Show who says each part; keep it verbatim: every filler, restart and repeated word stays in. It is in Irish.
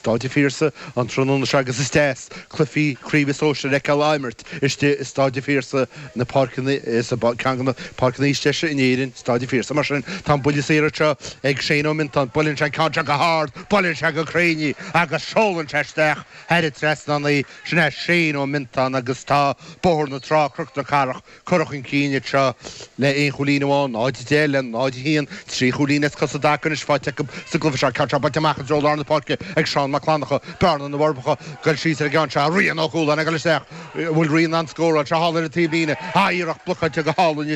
Speaker 1: Staid an Phiarsaigh an tráthnóna seo agus is deas cluichí craoibhe sóisir a fheiceáil á imirt istigh i Staid an Phiarsaigh, na páirceanna, sa ceann de na páirceanna is deise in Éirinn, Staid an Phiarsaigh. Mar sin, tá an buille saor anseo ag Shane Ó Miontáin. Buaileann sé an ceann seo go hard, buaileann sé go cruinn í agus seolann sé isteach thar an trasnán í. Sin é Shane Ó Miontáin agus tá Bóthar na Trá, Cnoc na Cathrach, curtha chun cinn anseo le aon chúilín amháin, náid a deich le náid a haon, trí chúilín as cosa i dtaca anois faighte acu sa gcluiche seo. Ceann seo buailte amach i dtreo lár na páirce ag Seán Mac Fhlannchadha, Bearna na bhForbacha, goil síos ar an gceann seo, Rian Ó Cualáin ag dul isteach, an bhfuil Rian in ann scóráil, seo thall ar an taobhlíne, ah iarracht blocáilte go hálainn.